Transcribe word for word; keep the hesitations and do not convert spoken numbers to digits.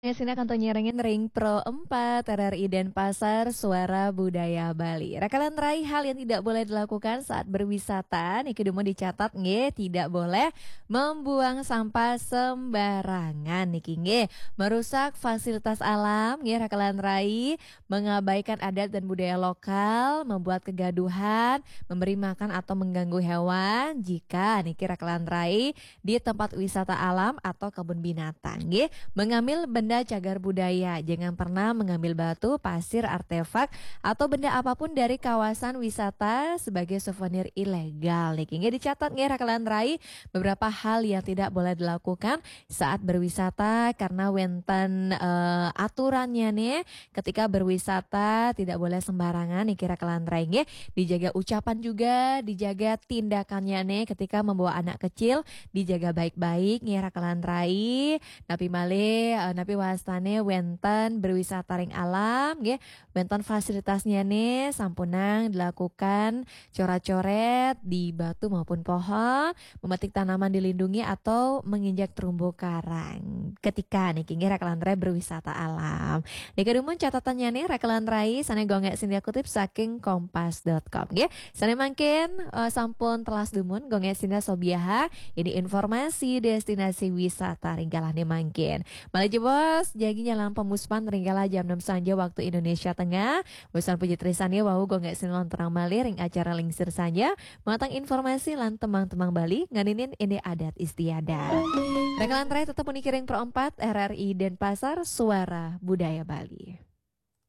Sina kanto nyerengin ring Pro empat R R I Denpasar, Suara Budaya Bali. Rakalan rai, hal yang tidak boleh dilakukan saat berwisata niki dumun dicatat nggih, tidak boleh membuang sampah sembarangan niki nggih. Merusak fasilitas alam nggih rakalan rai, mengabaikan adat dan budaya lokal, membuat kegaduhan, memberi makan atau mengganggu hewan. Jika niki rakalan rai di tempat wisata alam atau kebun binatang nggih, mengambil benda cagar budaya. Jangan pernah mengambil batu, pasir, artefak atau benda apapun dari kawasan wisata sebagai souvenir ilegal niki nggih. Dicatat nggih rakalan rai, beberapa hal yang tidak boleh dilakukan saat berwisata karena wenten eh, aturannya nih. Ketika berwisata tidak boleh sembarangan niki rakalan rai nggih. Dijaga ucapan juga, dijaga tindakannya nih. Ketika membawa anak kecil, dijaga baik-baik nggih rakalan rai. Napi malih, eh, napi wastane wenten berwisata ring alam nggih. Wenten fasilitasnya nih sampunang dilakukan coret-coret di batu maupun pohon, memetik tanaman dilindungi atau menginjak terumbu karang. Ketika niki nggih rakalan rai berwisata alam. Niki dumun catatannya nih rakalan rai sane Gung Gek Sindia kutip saking kompas dot com nggih. Sane mangkin eh, sampun telas dumun Gung Gek Sindia sobiaha ini informasi destinasi wisata ring galahne mangkin. Malih jebos jagi nyalang pemuspan ring galah jam enam sanja waktu Indonesia Tengah. Bosan puji tresnane wau Gung Gek Sindia lontarang malih ring acara Lingsir Sanja. Matang informasi lan temang-temang Bali nganinin ini adat istiadat. Rakalan rai tetep puniki ring Pro empat R R I Denpasar, Suara Budaya Bali.